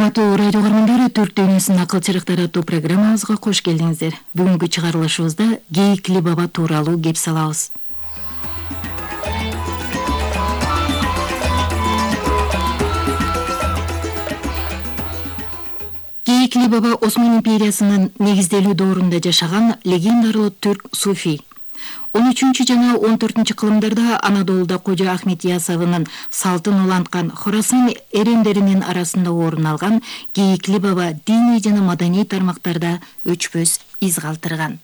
Урматтуу радио көрөрмандар, Түрк дүйнөсүнүн акыл чырыктары аттуу программабызга кош келдиңиздер. Бүгүнкү чыгарылышыбызда Гейикли баба тууралуу кеп салабыз. Гейикли баба Осман империясынын негизделүү доорунда жашаган легендарлуу түрк суфий. 13 жана 14 кылымдарда Анадолуда Кожо Ахмет Ясавынын салтын уланткан Хорасан эрендеринин арасында орун алган Гейикли баба диний жана маданий тармактарда өчпөс из калтырган.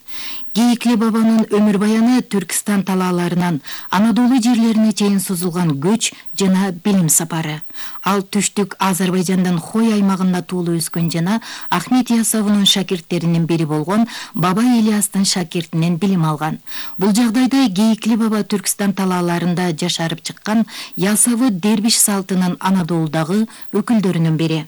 Гейикли бабанын өмүр баяны Түркистан талааларынан Анадолу жерлерине чейин созулган көч жана билим сапары. Ал түштүк Азербайжандан Хой аймагында туулуп өскөн жана Ахмет Ясавынын шакирттеринин бири болгон Баба Ильястын шакиртинен билим алган. Бул жагдайда Гейикли баба Түркистан талааларында жашарып чыккан Ясавы дербиш салтынын Анадолудагы өкүлдөрүнүн бири.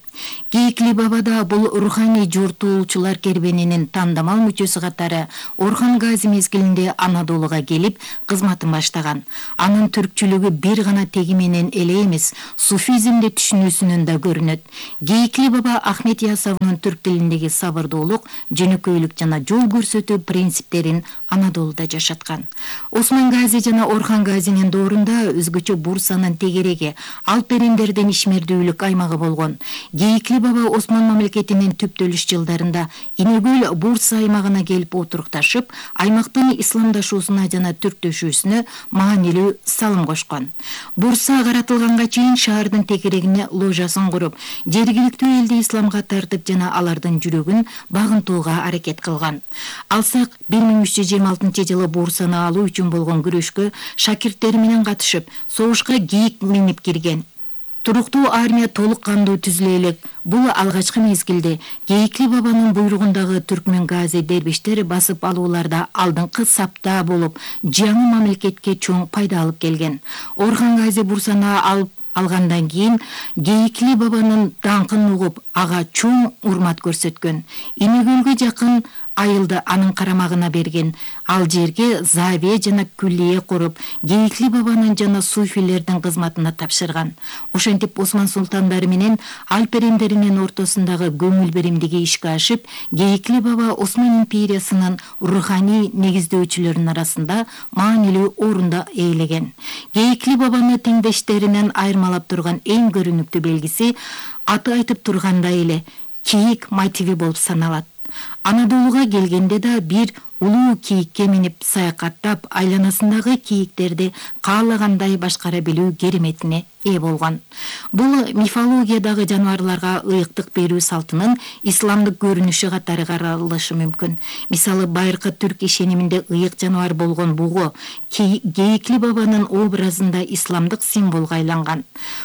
Гейикли бабада бул руханий жортуулчулар кербенинин тандамал мүчөсү катары Орхан Гази мезгилинде Анадолуга келип кызматын баштаган. Анын түркчүлүгү бир гана теги менен эле эмес, суфизмди түшүнүүсүнөн да көрүнөт. Гейикли баба Ахмет Ясавынын түрк тилиндеги сабырдуулук, жөнөкөйлүк жана жол көрсөтүү принциптерин Анадолуда жашаткан. Осман Гази жана Орхан Газинин доорунда өзгөчө Бурсанын тегереги, Алп эрендердин ишмердүүлүк аймагы болгон. Гейикли баба Осман мамлекетинин түптөлүш жылдарында Инегөл Бурса аймагына келип отурукташып, аймактын исламдашуусуна жана түрктөшүүсүнө маанилүү салым кошкон. Бурса каратылганга чейин шаардын тегерегине ложасын куруп, жергиликтүү элди исламга тартып жана алардын жүрөгүн багынтууга аракет кылган. Алсак 1326 жылы Бурсаны алуу үчүн болгон күрөшкө шакирттери менен катышып, согушка кийик минип кирген. Туруктуу армия толук кандуу түзүлө элек. Бул алгачкы мезгилде Гейикли бабанын буйругундагы түркмөн гази дербиштер басып алууларда алдыңкы сапта болуп, жаңы мамлекетке чоң пайда алып келген. Орхан Гази Бурсаны алып алгандан кийин Гейикли бабанын даңкын угуп, ага чоң урмат көрсөткөн. Инегөлгө жакын айылды анын карамагына берген. Ал жерге завия жана күллие куруп, Гейикли бабанын жана суфилердин кызматына тапшырган. Ошентип Осман султандары менен Алп эрендеринин ортосундагы көңүл беримдиги ишке ашып, Гейикли баба Осман империясынын руханий негиздөөчүлөрүнүн арасында маанилүү орунда ээлеген. Гейикли бабаны теңдештеринен айырмалап турган эң көрүнүктүү белгиси аты айтып тургандай эле кийик мотиви болуп саналат. Анадолуга келгенде да бир улуу кийикке минип саякаттап, айланасындагы кийиктерди каалагандай башкара билүү кереметине ээ болгон. Бул мифологиядагы жаныбарларга ыйыктык берүү салтынын исламдык көрүнүшү катары каралышы мүмкүн. Мисалы, байыркы түрк ишениминде ыйык жаныбар болгон бугу Гейикли бабанын образында исламдык символго айланган.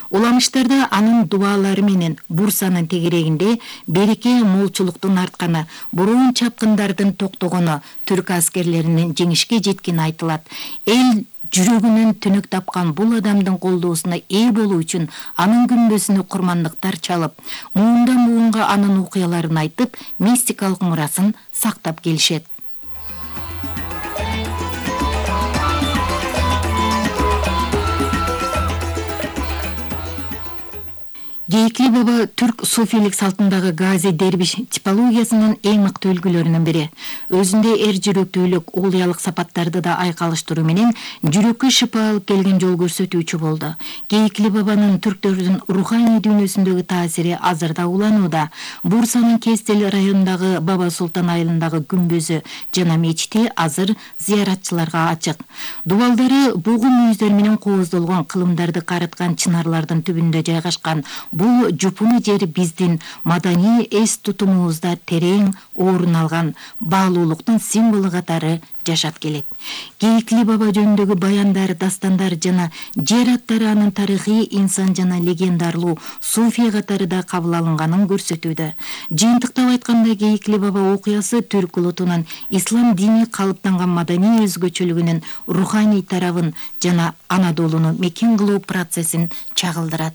Уламыштарда анын дубалары менен Бурсанын тегерегинде береке молчулуктун артканы, буруун чапкындардын токтогону, түрк аскерлеринин жеңишке жеткени айтылат. Эл жүрөгүнөн түнөк тапкан бул адамдын колдоосуна ээ болуу үчүн анын күмбөзүнө курмандыктар чалып, муундан муунга анын окуяларын айтып, мистикалык мурасын сактап келишет. Гейикли баба түрк суфилик салтындагы гази дербиш типологиясынын эң мыкты үлгүлөрүнүн бири. Өзүндө эр жүрөктүүлүк, оолуялык сапаттарды да айкалыштыруу менен жүрөккө шыпа алып келген жол көрсөтүүчү болду. Гейикли бабанын түрктөрдүн руханий дүйнөсүндөгү таасири азыр да уланууда. Бурсанын Кестел районундагы Баба Султан айылындагы күмбөзү жана мечити азыр зыяратчыларга ачык. Дубалдары бугу мүйүздөр менен кооздолгон кылымдарды карыткан чынарлардын түбүндө жайгашкан. Бул жупуну жер биздин маданий эс тутумубузда терең орун алган баалуулуктун символу катары жашап келет. Гейикли баба жөнүндөгү баяндар, дастандар жана жер аттары анын тарыхый, инсан жана легендарлуу суфий катары да кабыл алынганын көрсөтүүдө. Жыйынтыктап айтканда, Гейикли баба окуясы түрк улутунун ислам дини калыптанган маданий өзгөчөлүгүнүн руханий тарабын жана Анадолуну мекен кылуу процессин чагылдырат.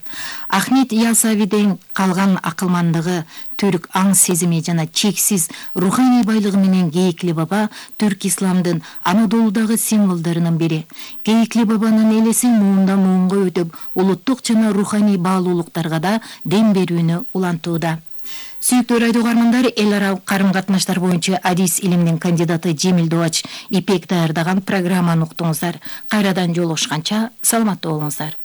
Ахмет Ясавиден калган акылмандыгы, түрк аң сезими жана чексиз руханий байлыгы менен Кейикли баба түрк исламдын Анадолудагы символдорунун бири. Кейикли бабанын элеси муундан муунга өтүп, улуттук жана руханий баалуулуктарга да дем берүүнү улантууда. Сүйүктүү радио угармандар, эл аралык карым-катнаштар боюнча адис илиминин кандидаты Жемил Дубач Ипек даярдаган программаны уктуңуздар. Кайрадан жолугушканча саламатта болуңуздар.